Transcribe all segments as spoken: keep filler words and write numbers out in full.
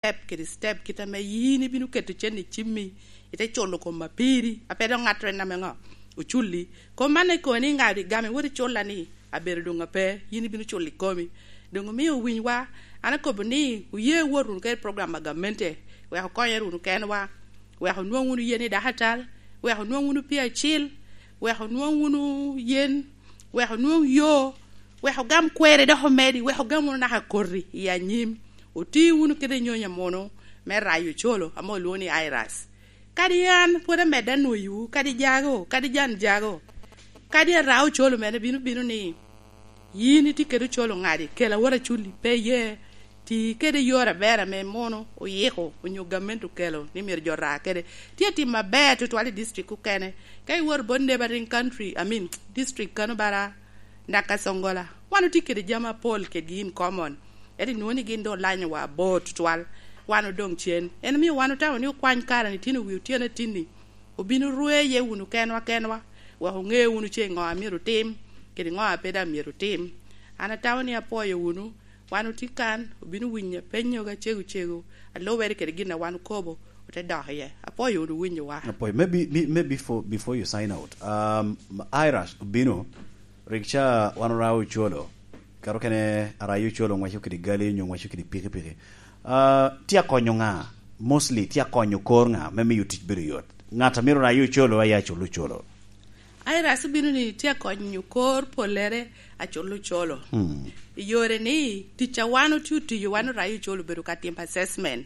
step kede step, kit ame yin ibino keto cen i cimmi, ite culo kom apiri, a pe dok ŋattoro en ame ŋo oculli. Kom man ekobo ni ŋa igamo iwot iculla ni abedo doŋ ape, yin ibino culo i komi. Doŋ omio owinywa, an akobo ni oye wot wunu kede program a gamente, wek okonyere wunu kenwa, wek onwoŋ wunu yen i dakatal, wek onwoŋ wunu pii acil, wek onwoŋ wunu yen, wek onwoŋ yo, wek ogam kweri dok omedi, wek ogam wunu naka koti i anyim. Oti wunu kede nyonyo munu me rayo ocolo ame olwoŋo ni IRAS. Kadi an pwod amedde anwoyiwu, kadi jago, kadi jan jago, kadi ara ocolo mene bino bino ni, yin itye kede ocolo ŋadi, kel awot aculi, pe iye. Ti kede yore aber ame mono oyiko onyo gamente okelo ni myero jo ra kede. Tye atim aber tutwal i district okene. Ka iwor bot neighboring country, I mean, district kano bara Nakasongola, wan otye kede jami apol kedgi in common. Ento inwoŋo ni gin doŋ olanyowa abor tutwal. Wan odoŋ cen. En omio wan otamo ni okwany kare ni tino wi otyeno atinni. Obino rweye wunu kenwa kenwa, wek oŋe wunu ce ŋo a myero otim, kede ŋo a pe daŋ myero otim. An atamo ni apwoyo wunu, wan otye kan, obino winyo penyoga cego cego, alubere kede gin a wan okobo, ote dok iye. Apwoyo wunu winyowa. Apwoyo. Maybe, me- maybe for, before you sign out, um, Irash obino, rik ca wan orayo ocolo, kato kene arayo ocolo ŋwaco kede gali onyo ŋwaco kede pikipiki. Uh, tye akonyo ŋa? Mostly tye akonyo kor ŋa me miyo tic bedo yot? Ŋat a myero rayo ocolo aye acul ocolo. Aira, asubino ni tye akonyo kor pollere acul ocolo. Hmm. I yore ni, tic a wan otye otiyo, wan orayo ocolo obedo ka timo assessment.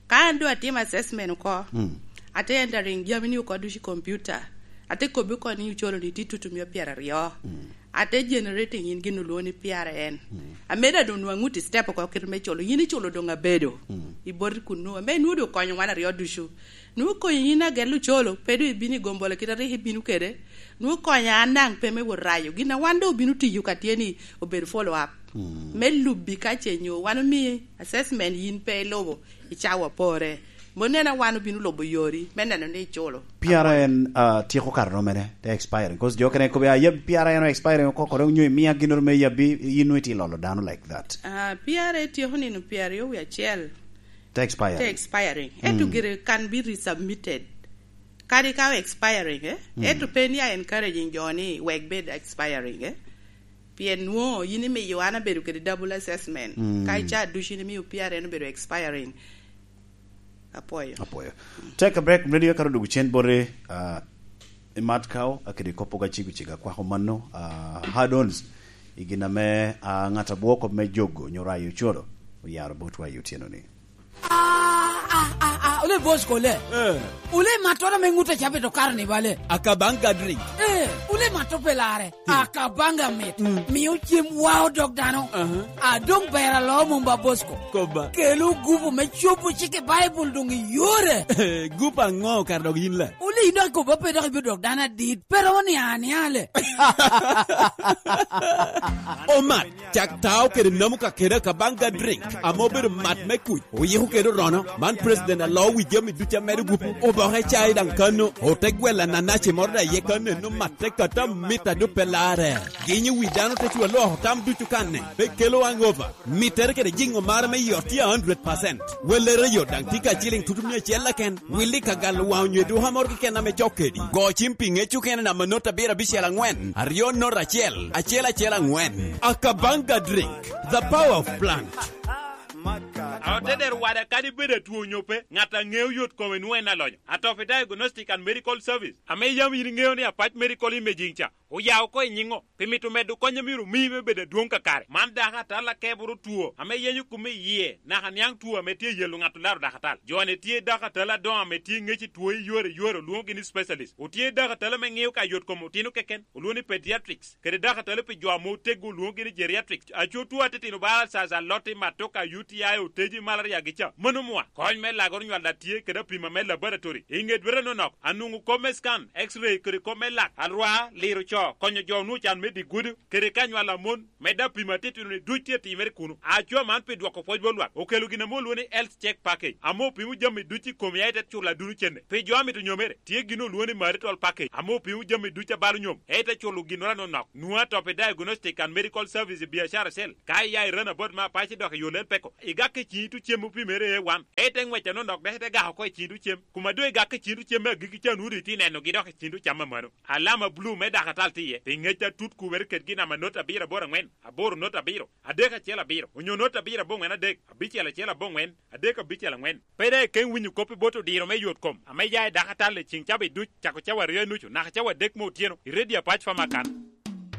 Ka an doŋ atimo assessment oko, hmm, ate entering jami ni oko ducu i computer. Ate kobbi oko ni ocolo ni tye tutumia pyeraryo. Hmm. Ate generating in gin olwoŋo ni P R N. Mm. Ameda doŋ nwaŋ ŋut i step oko kit me culo. Yin iculo doŋ abedo. Mm. I boti kunnu. Ame inwoŋo doŋ okonyo wan aryo ducu. Nwoŋo okonyo yin agel ocolo, pe doŋ ibino i gombolo kit a rik ibino kede. Nwoŋo okonyo an daŋ pe me wot rayo. Gin a wan doŋ obino tiyo ka tye ni obedo follow up. Mm. Me lubbi ka ce nyo wan omii assessment yin pe ilubo. I cawa pore. Mom neno a wan obino lubo yori me neno ni iculo. P R N, uh, tyeko kare romene, te expiring. 'Cause jo kene kobe, ah, yab P R N o expiring oko, kore onyo imia ginnoro me yabbi, yin nwe ti lolo dano like that. Ah, P R A tyeko nino pyeraryo wie acel. Te expiring. Te expiring. Ento, mm, gire can be resubmitted. Kadi ka expiring, eh? Mm. Ento pe ni a encouraging jo ni wek bed expiring, eh? Pien nwoŋo yin imiyo an abedo kede double assessment. Mm. Ka ica ducu in imiyo P R N obedo expiring. Apwoyo. Apwoyo. Take a break, radio ka odugo cen bote, ah, imat kao, a kede kop oga cego cego akwako mano, ah, hard-ons, i gin ame, ah, ŋat abwoko me jogo nyo rayo ocoro, oyaro botwa i otyeno ni. Ah, ah, ah, ah, ole boss kole. Eh. Ole matto ame ŋut a cabe to kar ni bale. Akabanga drink. Eh, ole matto pe lare. Hmm. Akabanga mit. Hmm. Mio cem wao dog dano. Aha. A doŋ ber alo mom ba boss ko. Koba. Kelo gupu me cobo cik i Baibul doŋ i yore. Gupu aŋo kar dog yin la? Ole ino akobo pe dok ibiro dok dano adit. Pe romo ni aniale. Omat. Cak tao kede namu ka kede Akabanga drink, ame obedo mat me kuc, oyiko kede orono. Man president alo wi jami ducu amedo gupu, oboke cai daŋ kano, ote gwelo ananaci moro daŋ iye kano, eno matte kata mit a doŋ pe larre. Ginyo wi dano te cu aloko tam ducu kanne, pe kelo hangover. Mittere kede jiŋo mare me yot tye a hundred percent. Wellere yo daŋ tye ka ciliŋ tutu mia acel keken. Willi ka galo waŋ onyo i duka moro keken ame cok kedi. Go cim pi ŋec okene namba not abiro abicel aŋwen, aryo not acel, acel acel aŋwen. Akabanga drink, the power of plant. Aoteder wada kadi bed atwo onyo pe, ŋat a ŋeo yot kome nwoŋo en alonyo. Atopi Diagnostic and Medical Service, ame yam in iŋeo ni Apac Medical Imaging ca, oya oko i nyiŋo, pi mito medo kony a myero omii me bedo adwoŋ kakare. Man dakatal a keboro two ame yenyo kome i yie, naka niaŋ two ame tye yelo ŋat olaro dakatal. Jo-ni tye dakatal adoŋo ame tye ŋec i two i yore yore, olwoŋogi ni specialist. Otye dakatal ame ŋeo ka yot kom otino keken, olwoŋo ni pediatrics, kede dakatal pi jo ame oteggo, olwoŋogi ni geriatrics. Aco two atitino ba alsas, aloti, matoka, U T I, oteji, malaria gi ca, mano mwa. Kony me lagoro nywal a tye kede apima me laboratory. I ŋe dwete nonok, anwoŋo kop me scan, X-ray, kede kop me lak, alwa, liro konyo jo onwoŋo can me dye gudo, kede ka nywalo amon, medde apimo atitino-ni duc tye atimere kuno. Acwa man pi dwoko pwoc bot lwak okelo gin ame olwoŋo ni Health Check Package, ame opimo jami duc i kom ya ite culo adunu cente. Pi jo a mito nyomere, tye gin olwoŋo ni Marital Package, ame opimo jami duc a balo nyom, ya ite culo ginnoro anonok. Nwoŋo atop i Diagnostic and Medical Service i biacara acel. Ka iya i Runabout me Apac idok i yo Lel Peko, igak i ciŋ itu cem opimere A one, ya ite ŋwec anonok dok ite gak oko i ciŋ itu cem. Kuma doŋ igak i ciŋ itu cem me agikki ca, nwoŋo doŋ itye nenogi dok i ciŋ itu cam amano. Alama bulu me dakatal tye iye, pi ŋec atut kubere kedgi namba not abiro aboro aŋwen, aboro not abiro, adek acel abiro, onyo not abiro aboŋwen adek, abicel acel aboŋwen, adek abicel aŋwen. Pe daŋ ikeŋ winyo kop i bot odiro me yot kom ame ya i dakatal i ciŋ cawa duc, cako cawa aryo i nucu naka cawa adek me otyeno, i redio Apac Pharmacan.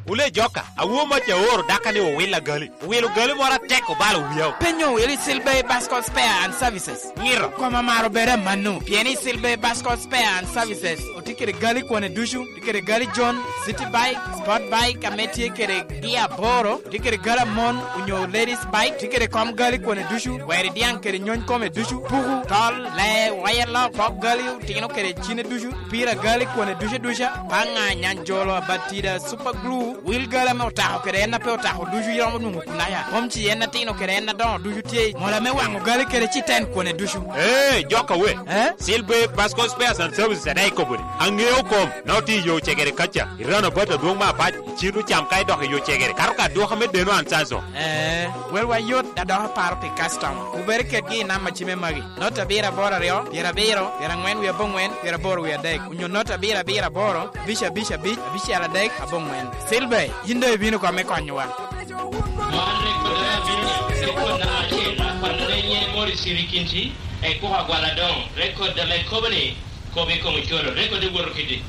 Wule joka, awo mac aoro daka ni owil agali. Owilo gali moro atek obalo wiya. Penyo owil i Silver Bascom Spare and Services. Ngiro. Koma maro bere amano, pien i Silver Bascom Spare and Services otye kede gali kwone ducu, tye kede gali John, City Bike, Sport Bike ame tye kede gia aboro, tye kede gali amon onyo ladies bike, tye kede kom gali kwone ducu, weri diaŋ kede nyony kome ducu, puku, tol, lee, wire lock, pok gali, otino kede cine ducu, pira gali kwone ducu duca, paŋa, nyanjolo, abatida, super glue, wil gali ame otako kede en a pe otako ducu iromo nwoŋo Ulaya. Kom ci en atino kede en adoŋo ducu tye i mola me waŋo gali kede citen kwone ducu. Ee, jok awe. Eh? Silver Bascom Spares and Services adaŋ ikobo ni, aŋeo kom, noti i yo cegere kaca, i rano bat adwoŋ me Apac, i cin ocam ka idok i yo cegere, kato ka adwoka me deno Ansazo. Eh, welwa yot, da dok aparo pi customer. Kubere kedgi i namba cime magi, not abiro aboro aryo, pyerabiro, pyeraŋwen wie aboŋwen, pyeraboro wie adek, onyo not abiro abiro aboro, abic abic abic, abicel adek, aboŋwen. Silver, yin doŋ ibino kome konyowa. Man rekodere abino, rekod namba acel, akwanere nyen Morris Sirikinti, ekuko agwal adoŋo, rekod ame kobo ni, kop i kom ocoro, rekod iwoto kiti.